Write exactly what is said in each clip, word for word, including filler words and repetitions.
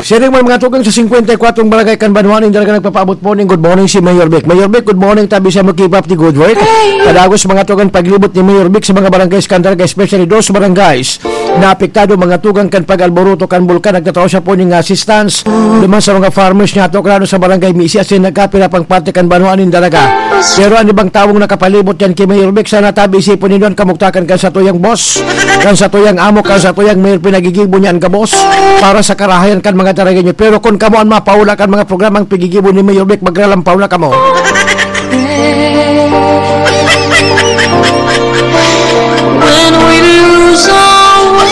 Siring man mga tugang sa singkwenta y kwatro barangay kan banwa nin Daraga nagpapaabot po ning good morning si Mayor Vic. Mayor Vic, good morning, tabi sa mo, keep up the good work. Kadagos mga tugang paglibot ni Mayor Vic sa mga barangay sa Daraga, especially those barangays na apektado mga tugang kan pag-alboroto kan bulkan. Nagtatao siya po ning assistance duman sa mga farmers niya, to, klaro sa barangay Misi, asin nagkapira pang parte kan banwa nin Daraga. Pero an ibang tawong nakapalibot yan ki Mayor Vic, sana tabi isipon nindo an kamugtakan kan satuyang boss, kan satuyang amo, kan satuyang mayor, pinagigibo niya an gabos para sa karahayan kan mga Daragueño. Pero kun kamo an mapaula kan mga programang pigigibo ni Mayor Vic, magralampaw na kamo. When we lose all.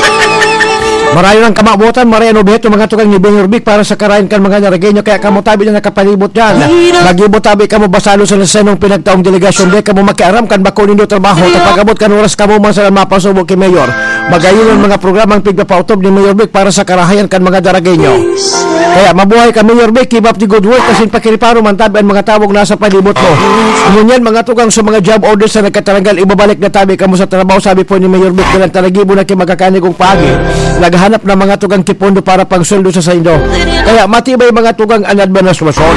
Marayo nang kamawotan, marayo an obheto, mga tugang, ni Mayor Vic para sa karahayan kan mga Daragueño, kaya kamo tabi na nakapalibot diyan. Mag-ibo tabi kamo, basalo sa nasenong pinagtaong delegasyon, di kamo makiaram kan bako nindo trabaho. Ta pag-abot kan oras, kamo man sana mapasubo ki Mayor. Magayon an mga programang pigpapaotob ni Mayor Vic para sa karahayan kan mga Daragueño. Kaya mabuhay ka, Mayor Vic, keep up the good work, asin pakiriparo man tabi an mga tawong nasa palibot mo. Ngunyan, mga tugang, sa mga job orders na nagkataranggal, ibabalik na tabi kamo sa trabaho, sabi po ni Mayor Vic, dalan talagibo na ki magkakanigong paagi. Naghahanap na mga tugang ki pondo para pangsweldo sa saindo. Kaya matibay, mga tugang, an administrasyon.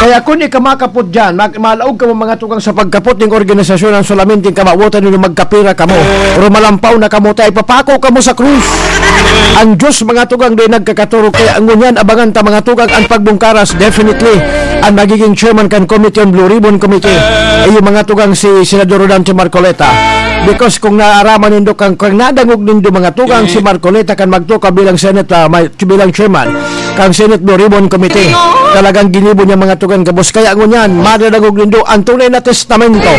Kaya kun ika makapot diyan, mag-, malaog kamo, mga tugang, sa pagkapot ning organisasyon, an solamente kamawotan nindo, magkapira kamo, rumalampaw na kamo, ta ipapako kamo sa krus. An Diyos, mga tugang, di nagkakatorog, kaya ngunyan abangan ta, mga tugang, an pagbungkaras. Definitely, an magiging chairman kan committee, an Blue Ribbon Committee, iyo, mga tugang, si Senador Rodante Marcoleta. Because kung naaraman nindo, kang, kang nadangog nindo, mga tugang, si Marcoleta kan magtukaw bilang Senate, ah, may, bilang chairman kan Senate Blue Ribbon Committee. Talagang ginibo niya, mga tugang, gabos. Kaya ngunyan, madadangog nindo an tunay na testamento.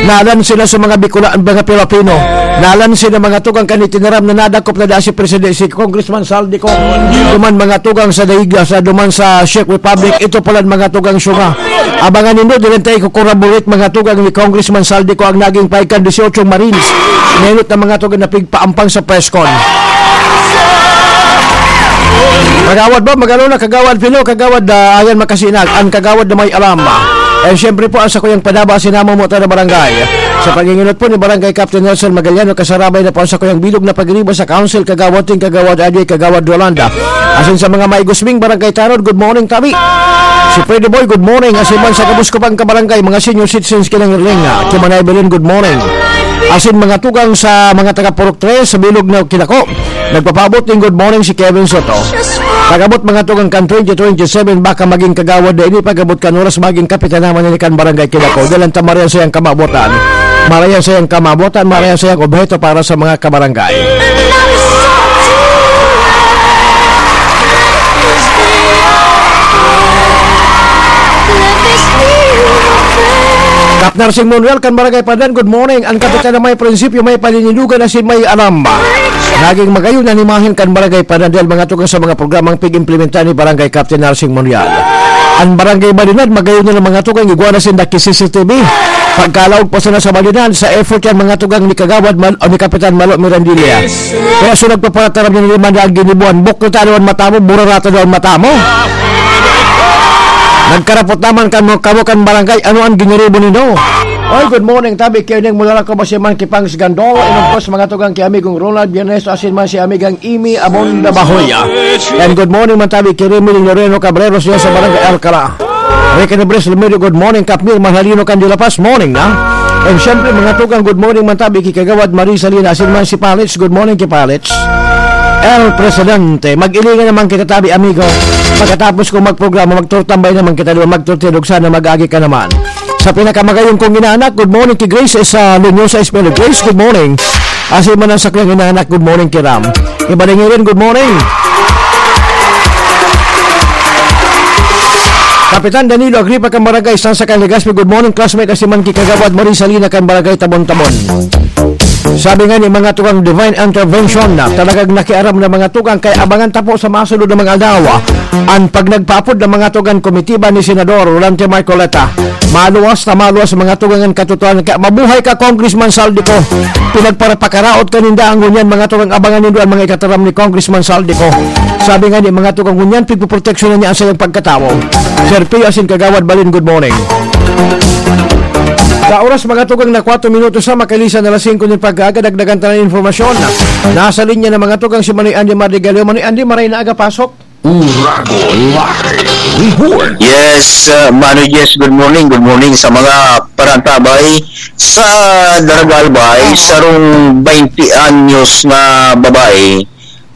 Nalan sila sa mga Bicola-, mga Pilipino. Nalan sila, mga tugang, kan itinaram na nadakop na daa si Presidente, si Congressman Zaldy Co. Duman, mga tugang, sa daig, sa duman sa Czech Republic, ito pala, mga tugang, syunga. Abangan nindo, diyan tayo kukorabulate, mga tugang, ni Congressman Zaldy Co, ang naging pahid kan dieciocho Marines. Nainot na, mga tugang, na pigpaampang sa press con. Kagawad ba? Magano na, Kagawad Filo, Kagawad, ah, Ayan Makasinag, ang Kagawad na may alam. And syempre po, ang sakuyang padaba, sinama mo tayo na barangay. Sa pag-inginot po ni Barangay Captain Nelson Magaliano, kasarabay na po ang sakuyang bilog na pagriba sa Council, Kagawad Ting, Kagawad Adi, Kagawad Yolanda. Asin sa mga maigusming barangay tanod, good morning, tabi. Si Freddy Boy, good morning. Asin man sa gabos ko pang kabarangay, mga senior citizens, kinangirling, ah, Kimanay Belen, good morning. Asin mga tugang sa mga taga Purok Tres, sa bilog na kinako, nagpapaabot ning good morning si Kevin Soto. Pag-abot mga tugang kan twenty twenty-seven, baka maging kagawad na ini, pag-abot kan oras, maging kapitan naman ini kan Barangay Kinako. Dalan ta, marayan sayang kamabotan. Marayan sayang kamabotan, marayan sayang obheto para sa mga kabarangay. Kap Narsing Monreal kan Barangay Pandan, good morning. Ang kapitan na may prinsipyo, may paninindugan, asin may alam. Naging magayon an imahen kan Barangay Pandan dahil mga tugang sa mga programang pig-implementa ni Barangay Captain Narsing Monreal. Ang Barangay Malinad, magayon na mga tugang, igwa na sinda ki C C T V. Pagkalaog pa sana sa Malinad, sa effort yan mga tugang ni Kagawad Mal-, o ni Kapitan Malo Mirandilla. Kaya so nagpaparataram niya naman na ang ginibuan, buklo tayo ang mata mo, burarata daw ang mata mo. Nagkarapot naman kamo, kamo kan barangay, ano ang giniribo nindo? Oy, good morning, tabi, kaya ning mula lang ko ba si Man Kipangs Gandol, and of course, mga tugang kay amigong Ronald Biernes, asin man si amigang Imi Abonda Bahoya. And good morning, man tabi, kay Remy Loreno Cabrero, siya sa barangay Alcala. Ricky Nebres Lumero, good morning, Kapmir Mahalino Candila Paz, morning na. And syempre, mga tugang, good morning, man tabi, kay Kagawad Marisa Lina, asin man si Palits, good morning, kay Palits. El Presidente, mag-ilingan naman kita tabi, amigo. Pagkatapos kong magprograma, magturtambay naman kita, di ba? Magturtindog sana, mag-agi ka naman. Sa pinakamagayong kong inaanak, good morning ki Grace, eh, sa Lunyosa Espelo. Grace, good morning. Asin man ang saklong inaanak, good morning ki Ram. Iba rin yun, good morning. Kapitan Danilo Agripa kan Barangay Sansa kan Legazpi, good morning, classmate, asin man ki Kagawad Marie Salina kan Barangay Tabon-Tabon. Sabi nga ni mga tukang divine intervention na talagang nakiaram na mga tukang, kaya abangan ta po sa masunod na mga aldaw, ah, an pagnagpaapod na mga tukang komitiba ni Senador Rolante Marcoleta. Maluwas na maluwas mga tukang an katotohanan. Kaya mabuhay ka, Congressman Saldico. Pinagparapakaraot ka ninda ang ngunyan, mga tukang, abangan nindo ang mga ikataram ni Congressman Saldico. Sabi nga ni mga tukang ngunyan, pigpoproteksyonan niya ang sayang pagkatawo. Sir Pio asin Kagawad Balin, good morning. Sa oras, mga tugang, na kwatro minutos na makalisan na alas singko nin pag-aga, dagdagan ta na informasyon. Nasa linya na, mga tugang, si Manoy Andy Mardigalio. Manoy Andy, maray na aga, pasok. Uragon Live Report. Yes, uh, Manoy Jess, good morning. Good morning sa mga parantabay sa Daragalbay. Sarong twenty anyos na babae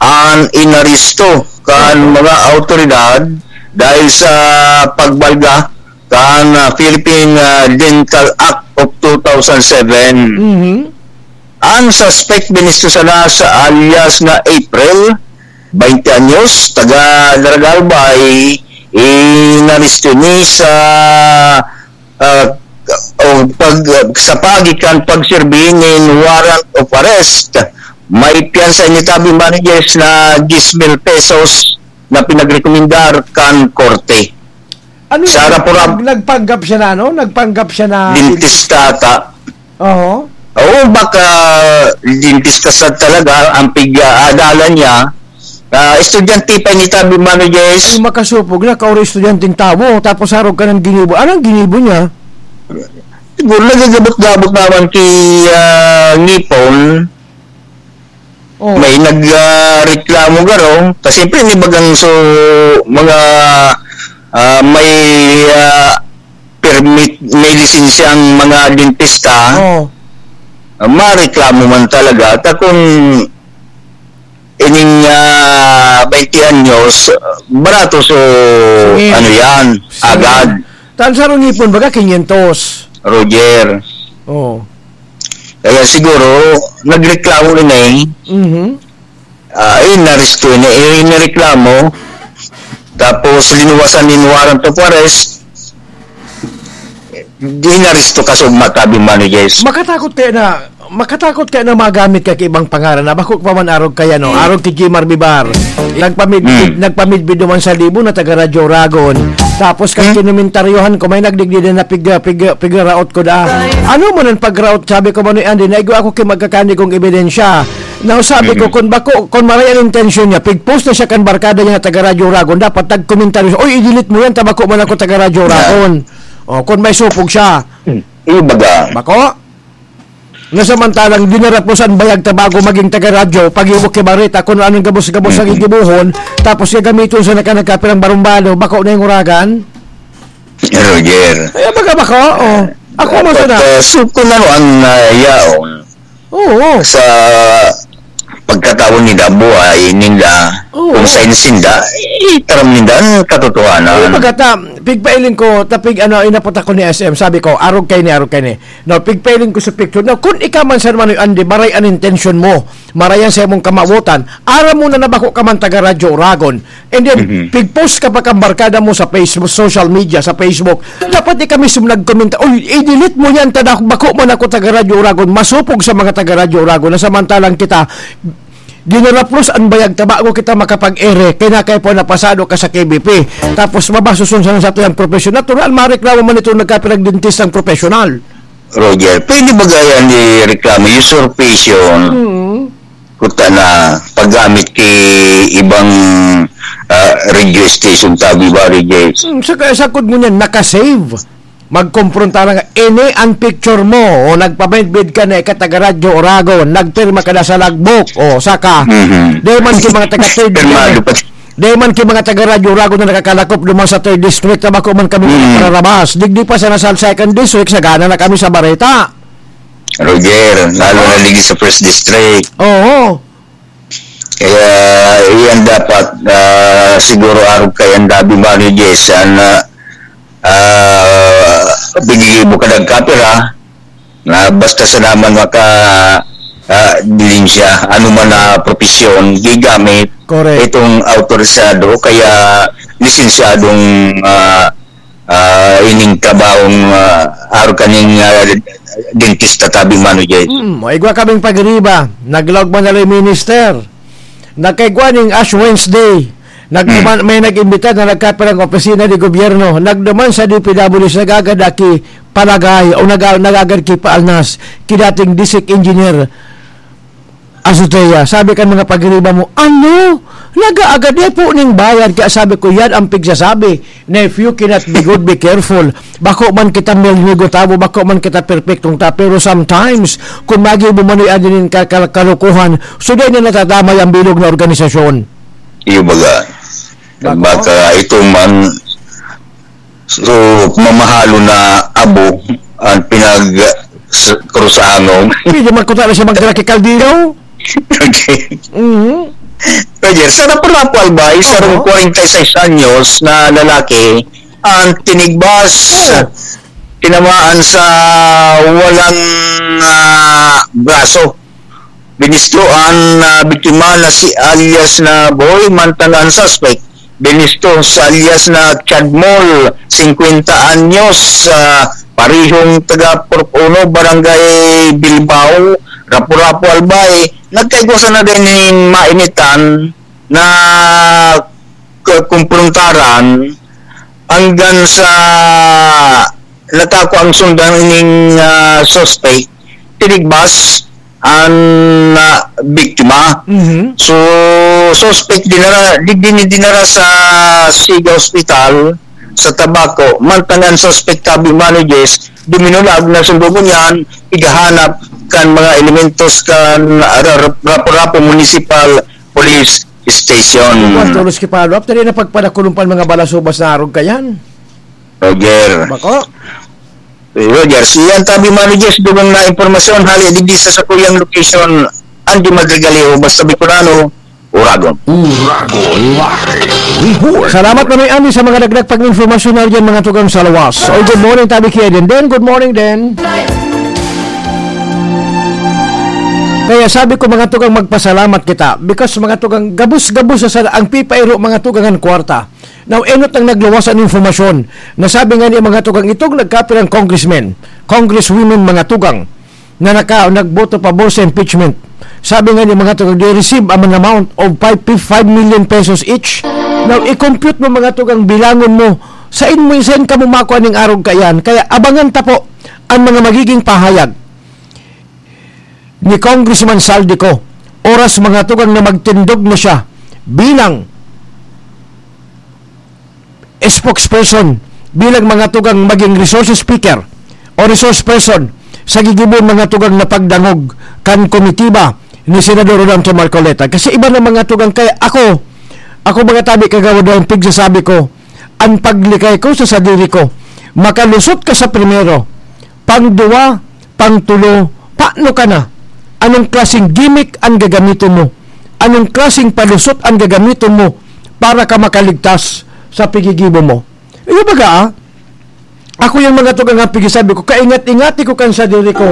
ang inaresto kan mga awtoridad dahil sa pagbalga kan, ah, Philippine, ah, Dental Act of two thousand seven. Mhm. Ang suspect, binisto sana sa alias na April, twenty anyos, taga Daragalbay, inaresto ni sa, ah, o pag, sa paagi kan pagserbi nin warrant of arrest. May piyansa ini, tabi, managers, na diyes mil pesos na pinagrekomendar kan korte. Ano Sa yun? Rapurap. Nag-, nagpanggap siya na ano? Nagpanggap siya na Dentista ata. Oo. Oo, baka dentista sa talaga ang pig-aadalan niya. Ah, estudyante pa ni tabi, managers. Kung makasupog na, kauro estudyanteng tawo, tapos harog ka ng ginibo. Anong ginibo niya? Siguro nagagabot-gabot naman ki, ah, ngipon. Oh. May nag, ah, reklamo garo. Kasi siyempre, may bagang so, mga, ah, may, ah, permit, may lisensyang mga dentista. Oh. Ah, mareklamo man talaga. Ta kung ining, ah, twenty anyos, barato so, So, eh, ano yan, so, agad. Tan sa ngipon, baga, quinientos. Roger. Oh. Kaya siguro, nagreklamo rin eh. Mhm. Ah, inaresto niya, eh, inireklamo. Tapos, linuwasan nin warrant of arrest. Di inaresto ka sa matabi, managers. Makatakot kaya na, makatakot kaya na magamit ka ki ibang pangaran na bako pa man arog kaya, no? Hmm. Arog ki Jimar Bibar. Nagpamid-, Hmm. nagpamidbid naman sa libo na taga Radyo Oragon. Tapos, kan Hmm. kinumentaryohan ko, may nagdigdi na pig-, pig-, pigraot ko da. Ano man ang pagraot, sabi ko, Manoy Andy, naigo ako ki magkakani kong ebidensya. Now, sabi ko, Mm. kung bako, kung maray ang intensyon niya, pig-post na siya kan barkada niya na taga Radyo Oragon, dapat nagkomentaryo siya, "Oy, i-delete mo yan, ta bako man ako taga Radyo Yeah. Oragon." O, kung may supog siya. Mm. Iyo baga. Bako? Na samantalang dinarapos ang bayag ta bago maging taga radyo, pag-iwok ki bareta, kung anong gabos-gabos ang Mm-mm. igibohon, tapos gagamiton sa naka-, nagkapirang barumbado, bako na yung uragan? Roger. Ay, baga bako? Oh. Ako mo Dapat, sana. ah, so, kung ano ang, ah, yaon, Oo. Sa pagkataon ninda, buhay ninda, Oo. kung sa sinda, itaram ninda ang katotohanan. Ay, pagkata, pigpailing ko, tapig ano, inapot ako ni S M, sabi ko, "Arog kay ni, arog kay ni." No, pigpailing ko sa picture. No, kung ikaw man, Sir Manoy Andy, maray ang intensyon mo, maray ang sa imong kamawotan, aram mo na na bako ka man taga Radyo Oragon, And then, Mhm. pig-post ka pa kan barkada mo sa Facebook, social media, sa Facebook. Dapat di ka mismo nagkomenta, "Uy, i-delete mo yan, ta bako man ako taga Radyo Oragon." Masupog sa mga taga Radyo Oragon na samantalang kita, dinaraplos ang bayag ta bago kita makapag-ere, kaya na kayo po napasado ka sa K B P. Tapos mabasuson sa, sa tuyang profesyon. Natural, mareklamo man itong nagkapirang dentistang profesional. Roger, pwede ba gaya ni reklamo, usurpation? Mm. Kuta na paggamit ki ibang, ah, radio station, tabi ba, Reg? Hmm, saka, sakod mo niyan, naka-save. Magkumpronta na nga, ini ang picture mo, o nagpabidbid ka na ika taga Radyo Oragon, nagpirma ka na sa logbook, o saka, Mhm. di man ki mga taga-trade Pirmado pa. Di man ki mga taga Radyo Oragon na nakakalakop duman sa third district na bako man kami Mm. nakararabas. Digdi pa sana sa second district, sagana na kami sa bareta. Roger, lalo na digdi sa first district. Oo. Kaya, iyan dapat, ah, siguro arog kay ang dabi managers, an, ah, ah, piggigibo ka nagkapira, na basta sa naman maka, ah, dilin siya, ano man na propesyon, gigamit Correct. itong autorisado, kaya lisensyadong, ah, ah, ining trabahong, ah, aro kaning, ah, dentista, tabi mano, Jay. Mm, may igwa kaming pagriba. Naglaog man na rin minister. Nagkaigwa ning Ash Wednesday. Nagduman, Hmm. may nag-imbita na nagkapirang opisina ni gobyerno. Nagduman sa D P W S, nagagad aki palagay o naga-, nagagad ki paalnas ki dating district engineer Azotea. Sabi kan mga pagiriba mo, "Ano? Nag-aagad po ning bayad, kaya sabi ko, yan ang pigsasabi na if you cannot be good, be careful. Bako man kita milmigo tabo, bako man kita perpektong tao, pero sometimes, kung magibo man yan din ka-, ka-, kalokohan, so dahil na natadamay ang bilog na organisasyon. Iyo baga. Bako? Baka ito man, so, mamahalo na abo ang pinag s-, krusahangon. Pwede man ko talaga siya magdala kay Caldero. Okay. Mhm. Roger, sa Lapu-Lapu, Albay, sarong Oo. kwarenta y seis anyos na lalaki ang tinigbas, Oo. tinamaan sa walang, ah, braso. Binisto ang, ah, biktima na si alias na Boy, mantang ang suspect binisto sa alias na Chadmol, singkwenta anyos, ah, parehong taga Purok Uno, Barangay Bilbao, Rapu-Rapu, Albay. Nagkaigwa sana nin mainitan na k-, kumprontaran hanggang sa natakwa ang sundan ning, ah, suspect, tinigbas ang, ah, biktima. Mhm. So, suspect dinara, di, din, dinara sa Siga Hospital sa Tabaco. Mantang ang suspect, tabi man ni Jess, duminulag na sundog niyan, ighahanap kan mga elementos kan, ah, Ra-, Ra-, Rapu-Rapu Municipal Police Station. Kwan, tulos ki follow-up, tadi na pagpadakulong pan mga balasubas na arog kayan. Roger. Bako? Eh, Roger, si Ian Tabi Manages, dugang na impormasyon, hali digdi sa sakuyang location, Andy Madrigalejo, basta Bicolano, Uragon. Uragon Live Report. Salamat na may Andy sa mga dagdag pag-informasyon na dyan, mga tugang sa lawas. Oy, good morning, Tabi Kia din. Den, good morning, Den. Kaya sabi ko, mga tugang, magpasalamat kita. Because, mga tugang, gabos-gabos sa sala, ang pipairo, mga tugang, ang kwarta. Now, enot ang nagluwas an informasyon na sabi nga ni mga tugang itong nagkapirang congressmen, congresswomen, mga tugang, na naka-, nagboto pabor sa impeachment. Sabi nga ni mga tugang, they receive an amount of five, five million pesos each. Now, i-compute mo, mga tugang, bilangon mo, sain mo, sain ka mo makuha ning arog kaiyan? Kaya abangan ta po ang mga magiging pahayag ni Congressman Zaldy Co, oras, mga tugang, na magtindog na siya bilang spokesperson, bilang, mga tugang, maging resource speaker o resource person sa gigibon, mga tugang, na pagdangog kan komitiba ni Senador Rodante Marcoleta. Kasi iba na, mga tugang, kaya ako, ako, mga tabi, kagawad, ang pigsasabi ko, ang paglikay ko sa sadiri ko, makalusot ka sa primero, pangduwa, pangtulo, paano ka na? Anong klaseng gimmick ang gagamiton mo? Anong klaseng palusot ang gagamiton mo para ka makaligtas sa pigigibo mo? Iyo baga, ah? Ako yung mga tugang ang pigisabi ko, kaingat-ingati ko kan sadiri ko.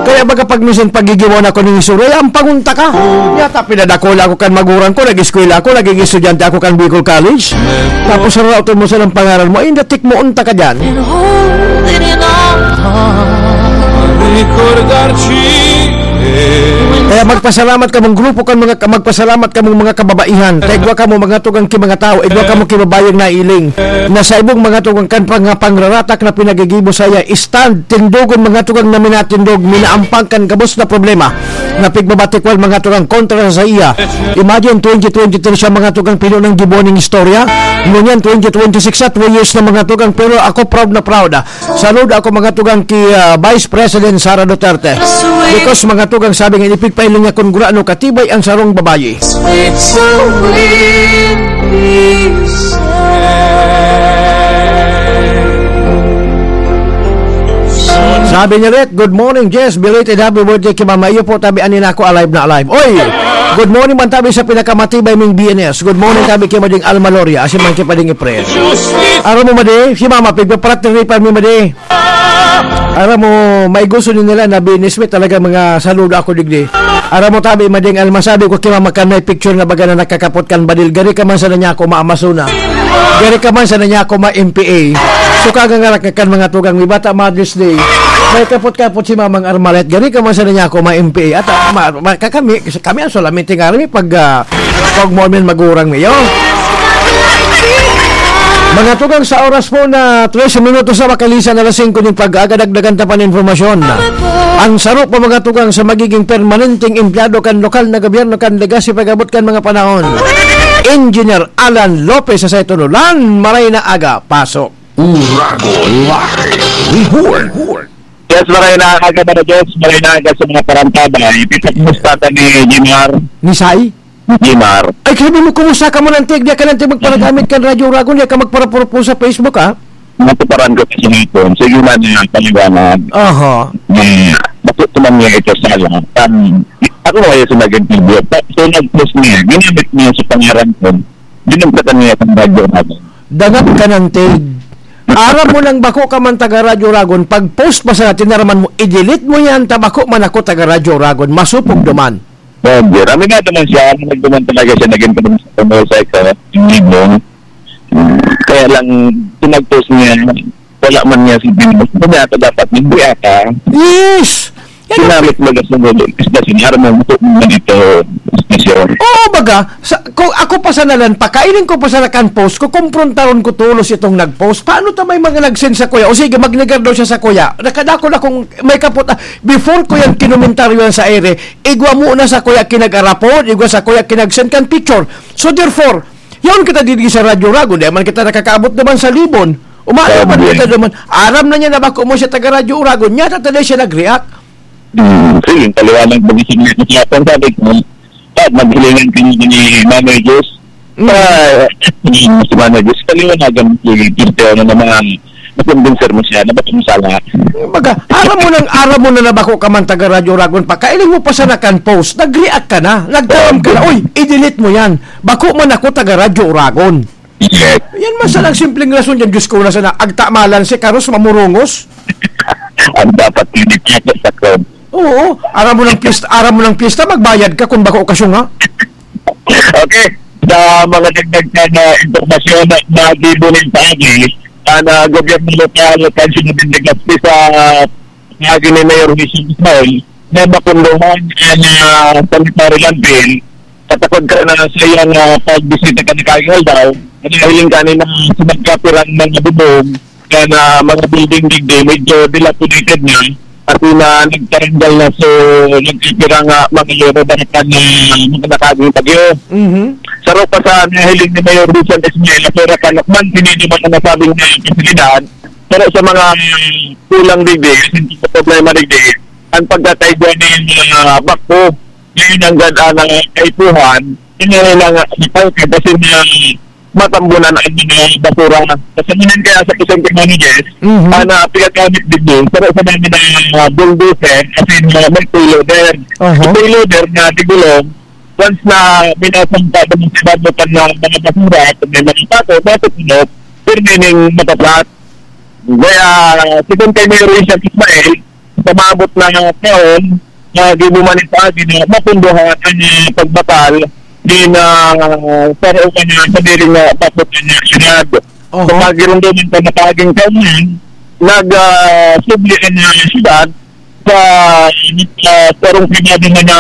Kaya baga pag minsan pagigiwan ako ng isura, "Ay, ang pangunta ka." Yata pinadakula ako kan magulang ko, nag-eskwela ako, naging estudyante ako kan Bicol College. Tapos sa raot mo sa ng pangaral mo, ay, natikmoon ta ka dyan. Kaya magpasalamat kamong grupo kan mga, magpasalamat kamong mga kababaihan. Ta igwa kamo mga tugang ki mga tawo, igwa kamo ki babayeng nailing. Na sa ibong mga tugang kan pang-, pangraratak na pinagigibo saya, stand, tindogon mga tugang na minatindog, minaampang kan gabos na problema. Na pigbabatikwal mga tugang kontra sa iya. Imagine, twenty twenty-three siya mga tugang pinunang gibo ning istorya. Ngunyan, twenty twenty-six at three years na mga tugang, pero ako proud na proud, ah. Saludo ako mga tugang ki, ah, Vice President Sara Duterte. Because mga tugang sabi nga, ipigpailing niya kung gurano katibay ang sarong babayi. Sweet, so sweet, peace. Sabi niya ulit, "Good morning, Jess. Belated happy birthday kay Mama." Iyo po, tabi, ani na ako, alive na alive. Oy! Good morning man tabi sa pinakamatibay ming B N S. Good morning tabi kay Mading Alma Loria. Asin man kay Pading Efren. Aram mo, Madi, si Mama, pigpapratiripan mi, Madi. Aram mo, may gusto ni nila na biniswit talaga mga saludo ako digdi. Aram mo, tabi, Mading Alma, sabi ko, "Kaya makan may picture na baga na nakakapot kan badil. Gari ka man sana niya ako maamasuna. Gari ka man sana niya ako ma-M P A." So, kagangarak kan mga tugang, may bata Mother's Day. May kapot-kapot si Mamang Armalet. Gari ka man sana niya ako ma-M P A. At, ah, ma-, ma-, kakami, kami ang solamente nga, kami pag, ah, pag mo magurang niyo. Mga tugang, sa oras po na trese minutos na makalisan alas singko nin pag-aaga, dagdagan ta pa nin impormasyon. Ang saro pa, mga tugang, sa magiging permanenteng empleyado kan lokal na gobyerno kan Legazpi pag-abot kan mga panahon. Engineer Alan Lopez sa Sayton Ulan, maray na aga, pasok. Uragon Live Report. Yes, maray na aga, Mano Jess. Maray na aga sa mga parantabay. Ipipagmusta ka ni Jimar. Ni Sai? Jimar. Ay, sabi mo, kumusta ka mo, Nantig? Di ka, Nantig, magparagamit kan Radyo Uragon, di ka magparapurpo sa Facebook, ha? Natuparan ko kasi nito. Sige man niya, paliwanag. Aha. Ni, bakit naman niya ito sala? Tan, ako nga yung nag-interview. Ta-, so, nag-post niya. Ginamit niya sa pangaran ko. Ginamit niya sa Radyo Uragon. Dangat ka, Nantig. Aram mo nang bako ka man taga Radyo Uragon, pag post pa sa tinaraman mo, i-delete mo yan, ta bako man ako taga Radyo Uragon, masupog duman. Roger, aminado man siya, aminado man talaga siya, naging sa San Jose, sa Libong. Kaya lang, pinag-post niya, wala man niya si Venus. Sabi ata dapat, hindi ata. Yes! Yan ang Ginamit mo na sa mga istasyon, aram mo, buto mo na dito, istasyon. Oo, baga, sa, kung ako pa sa nalan, pakainin ko pa sa nakan post, kukumprontaron ko tulos itong nag-post. Paano ta may mga nag-send sa kuya? O sige, magnegar daw siya sa kuya. Nakadako na kung may kapot, ah, before ko yan kinomentaryo yan sa ere, igwa mo na sa kuya kinag-arapod, igwa sa kuya kinag-send kan picture. So therefore, yaon kita didi sa Radyo Rago, di man kita nakakaabot naman sa Libon. Umayo man Sabi kita yan. naman. Aram na niya na bako mo siya taga Radyo Uragon. Niya, tatali siya nag-react. Hmm, sige, paliwanag mo, gising niya sa hapon, sabi ko, "Pat, maghilingan ka niya ni Manoy Diyos." Mm. Ah, si Manoy Diyos, paliwanagan mo si Cristiano na mga nakumbinser mo siya, na ba't mo sala? Baga, aram mo nang, aram mo na na bako ka man taga Radyo Uragon pa, kailing mo pa sana kan post, nag-react ka na, nagtaram ka na, Sabi. "Uy, i-delete mo yan, bako man ako taga Radyo Uragon." Yes. Yan man sana ang simpleng rason dyan, Diyos ko, na sana, agtamalan si Carlos mamurungos. Ang dapat tinitito sa club. Oo, aram mo ng piyesta, aram mo ng piyesta, magbayad ka kung bako okasyon nga. Okay, sa mga dagdag na, na impormasyon na, na gibo nin paagi, ang, ah, gobyerno lokal at ang sinabing Legazpi sa paagi ni Mayor Vincent Ismail, na mapunduhan ang, ah, sanitary landfill, patakod ka na sa iyang, ah, pagbisita ka na kaging aldaw, nahiling ka na sa nagkapirang mga bubong, kan, ah, mga building digdi, medyo dilapidated na, kasi na nagtaranggal na, so, nagkikira nga mga lero barakan na mga nakaging bagyo. Mhm. Sa ropa sa nahiling ni Mayor Rizal Esmela, pero kalakman, tiniduman ang nasabing na pasilidad, pero sa mga, mm, kulang digdi, sa problema digdi, ang pagkataigwa ng mga bakho, ngayon ang ganda ng kaipuhan, hindi na lang ipangkad kasi na matambunan ang mga basura. Kasi ngayon kaya sa isang communities, Mhm. ah, na pinagamit din yun, pero sa namin ng mga bulldozer, kasi mga may payloader. Aha. Yung payloader na digulong, once na minasampa doon sa ibabaw ng mga basura, at may mga pato, matutunog, pero meaning mataplat. Kaya, sigon kay Mayor Richard Ismael, sa maabot na taon, na gibo man ito, agi na mapunduhan ang, ah, pagbatal din, ah, sa rooman na sa diri nga bakod na syudad. Oho. Sa pagirumduman sa mataging kaunyan, nag, ah, subli ang, ah, syudad sa, ah, sarong pribado na,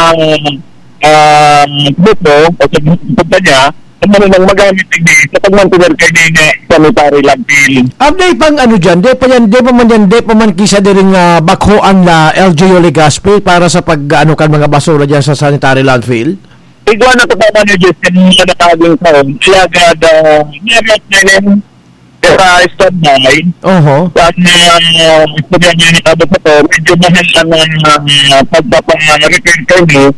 ah, grupo o sa grupo niya, ano nang magamit digdi sa pagmantener kay nga sanitary landfill. Ah, di pang ano dyan, di pa yan, di pa man yan, di pa man kisa diri nga bakhoan na L G U Legazpi para sa pag, ano, kan mga basura dyan sa sanitary landfill? Igwa na ko pa man yung Diyos, yung mga nakaging taon. Kaya agad, ah, meron na rin, sa standby. Oho. Sa mga, ah, istorya niya ni Pablo Soto, medyo mahal ang, ah, pagpapa-repair kami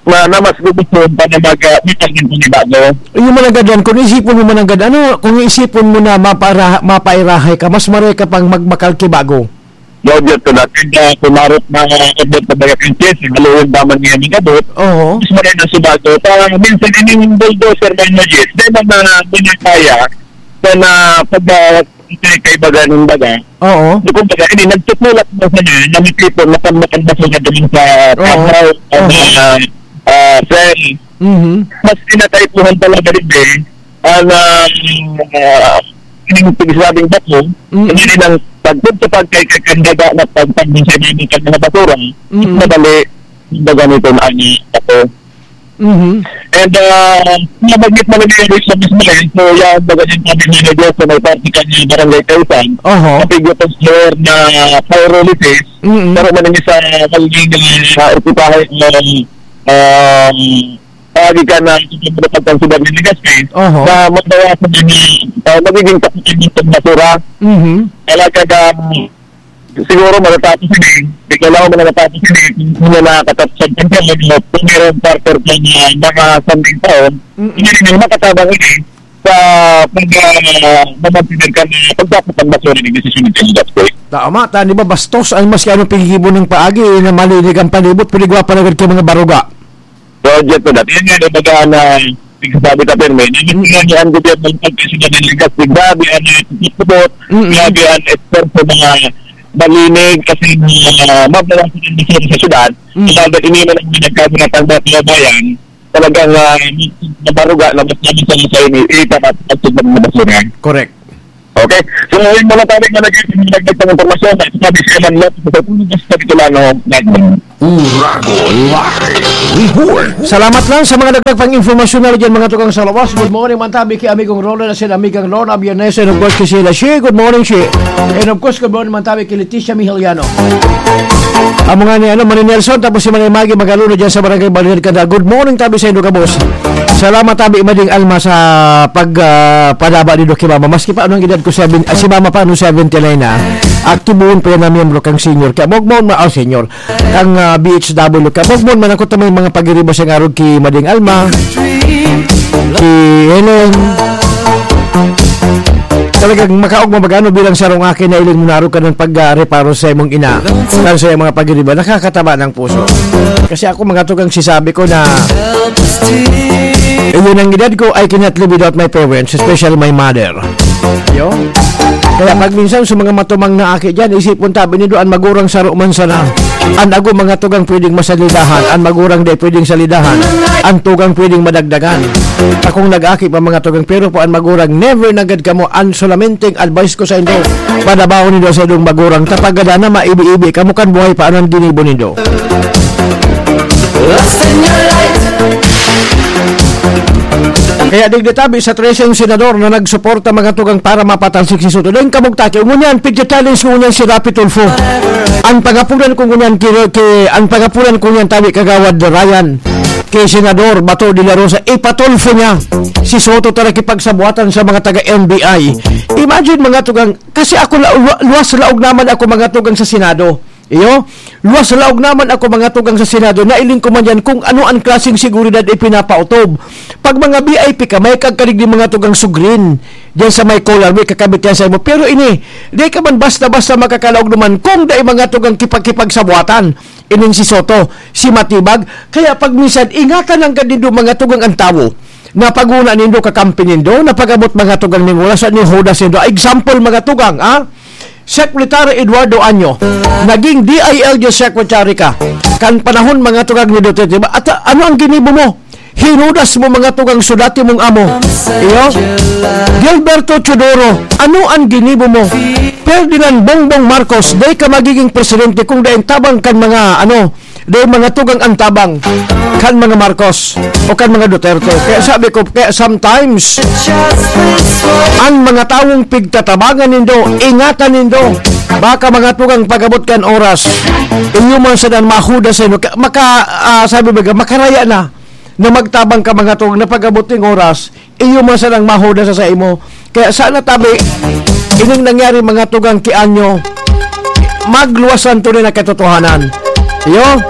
na, na mas gugustuhan pa na mag, ah, may pagiging panibago. Yung mananggad yan, kung isipon mo mananggad, ano, kung isipon mo na mapara-, mapairahay ka, mas maray ka pang magbakal ki bago. Roger, to natin, ah, kumarot na, ah, Edward Pabayakan Chess, haluin ba man niya ning abot? Oo. Mas maray na si bago. Pa, minsan, ining bulldozer na yung Jess, may mga binataya na, na pag, ah, kaibagan ng baga. Oo. So, kumbaga, ini, nagtutulak mo sa niya, na may people, na pag makandasal na duman sa Oo. Tabaw, sa Oo. mga, ah, cell. Mhm. Mas pinataypuhan talaga rin, eh. Ang, ah, ah, yung pigsabing bato, Mm. hindi nang pagpunta pag kay, kay kandaga na pagpagdun sa mga, sa mga basura, Mm. madali, kumbaga nito na ang bato. Mhm. And, ah, nabanggit mo na yung Richard Ismail, so, yan, baga yung kami manager sa may party kanya, Barangay Kaisan, Oho. Kapigyo Pastor na pyrolysis, Mm. pero man yung sa Malvin, ah, ekipahe, um, um, Pagi ka na sa pagkansubad ni Legazpi, Oho. na mabawasan din yung, ah, magiging kapitan ng basura. Mhm. Talaga na siguro matatapos ini. Di ko alam kung matatapos ini. Kung wala katapos ang pagkain, kung mayroong quarter pa na mga sanding taon, Mm-mm. hindi rin makatabang ini sa pag, ah, mamantinan ka na pagtapos ng basura ni desisyon ng Legazpi. Tama, ta, di ba, bastos ang maski anong paghihibo ng paagi, eh, na malinig ang palibot, pwede gwa pa agad kay mga baruga. So, Jet, to that. Yan nga, ibaga na, nagsasabi ka, Perme, na hindi nga ni ang gobyerno ng pagkasunod ng Legazpi. Grabe ang, ah, pagkakabot, Mm-mm. grabe ang esforso mga malinig kasi, ah, mabawasan ang basura sa syudad. Mm. Sabagay, iniwan ang mga nagkasing at ang mga kababayan, talagang, ah, nabaruga na mas namin sa mga ini, itapat at sa mga basura. Correct. Okay? So, yun muna tayo na nag-, nagdagdag ng impormasyon. At sabi siya man lang, sa Pilipinas, sa Bitolano, Uragon Live Report. Salamat lang sa mga dagdag pang impormasyon na dyan, mga tukang sa lawas. Good morning, man tabi kay Amigong Roland, asin Amigang Lorna Biernes, and of course, kay Sheila Shea. Good morning, Shea. And of course, good morning, man tabi kay Leticia Mihiliano. Amo nga ni, ano, Manny Nelson, tapos si Manny Maggie Magaluna dyan sa Barangay Balinad, Candal. Good morning, tabi sa Indo Gabos. Salamat, tabi, Mading Alma, sa pag, ah, padaba ni Doc Mama. Maski pa anong edad ko, seven, ah, si Mama pa, ano, seventy-nine na. Aktibohon pa yan na miyembro kang senior. Kaya, mogmon ma-, oh, senior. Kang, ah, B H W. Kaya, mogmon man ako ta may mga pagiriba sa ngarog ki Mading Alma. Ki Helen. Talagang makaog mabagano bilang sarong aki na iling munaro ka ng pag, ah, reparo sa imong ina. Kan sa iyong mga pagiriba, nakakataba ng puso. Kasi ako, mga tugang, sisabi ko na, eh, yun ang edad ko, I cannot live without my parents, especially my mother. Yo? Kaya pag minsan sa mga matumang na aki dyan, isipon tabi nindo, an magurang saro man sana. An ago mga tugang pwedeng masalidahan, an magurang di pwedeng salidahan, an tugang pwedeng madagdagan. Akong nag-aki pa mga tugang, pero po an magurang, never nagad kamo, an solamenteng advice ko sa indo, padabahon nindo sa indong magurang, tapagada na maibi-ibi kamo kan buhay pa an ginibo nindo. Kaya digdi tabi sa trese senador na nagsuporta mga tugang para mapatalsik si Soto. Dahil kamugtaki, ngunyan, pigcha-challenge ko ngunyan si Raffy Tulfo. Ang pangapunan ko ngunyan, ki, ki, ang pangapunan ko ngunyan, tabi Kagawad Ryan, kay Senador Bato de la Rosa, ipatulfo niya si Soto ta nakipagsabuatan sa mga taga N B I. Imagine mga tugang, kasi ako la-, lu-, luwas laog naman ako mga tugang sa Senado. Iyo, luwas laog naman ako mga tugang sa Senado, nailing ko man yan kung ano ang klaseng seguridad ipinapaotob. Pag mga V I P ka, may kagkalig di mga tugang sugrin, diyan sa may collar, may kakabit yan sa imo. Pero ini, di ka man basta-basta makakalaog naman kung dai mga tugang kipag-kipagsabuatan. Ining si Soto, si Matibag. Kaya pag minsan, ingatan ang gad nindo mga tugang ang tawo. Napaguna nindo, kakampi nindo, napagabot mga tugang ning oras, ni Judas nindo. Example, mga tugang, ah? Secretary Eduardo Anyo, naging D I L G secretary ka. Kan panahon, mga tugang ni Duterte, ba? At, ah, ano ang ginibo mo? Hinudas mo, mga tugang, so dati mong amo. Iyo? Gilberto Teodoro, ano ang ginibo mo? Ferdinand Bongbong Marcos, dai ka magiging presidente kung dai ang tabang kan mga, ano, dai mga tugang ang tabang kan mga Marcos o kan mga Duterte. Kaya sabi ko, kaya sometimes, ang mga tawong pigtatabangan nindo, ingatan nindo. Baka mga tugang pag-abot kan oras, iyo man sa dan mahuda sa inyo. Ka-, maka, ah, sabi ba, makaraya na na magtabang ka mga tugang na pag-abot ning oras, iyo man sanang mahuda sa saimo. Kaya sana tabi, ining nangyari mga tugang ki Anyo, magluwasan tunay na katotohanan. Iyo?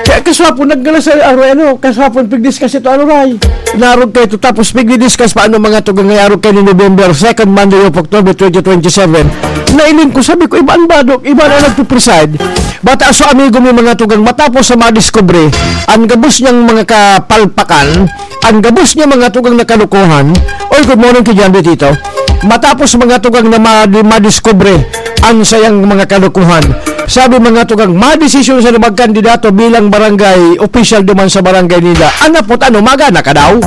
Kaya kaswapon, nagkala sa, ano, ano, kaswapon, pigdiscuss ito, ano, Ray? Narog kayo ito, tapos pigdiscuss pa, ano, mga tugang, ngay arog kayo ni November second, Monday of October twenty twenty-seven. Nailing ko, sabi ko, iba ang badok, iba na nagpipreside. Bata so amigo mi mga tugang, matapos sa madiskubre, ang gabos niyang mga kapalpakan, ang gabos niya mga tugang na kalukuhan. Oy, good morning kay John Tito. Matapos mga tugang na ma-, madiskubre ang sayang mga kalukuhan. Sabi mga tugang, madesisyon sa magkandidato bilang barangay official duman sa barangay nila. Ano po, ano, magana ka daw?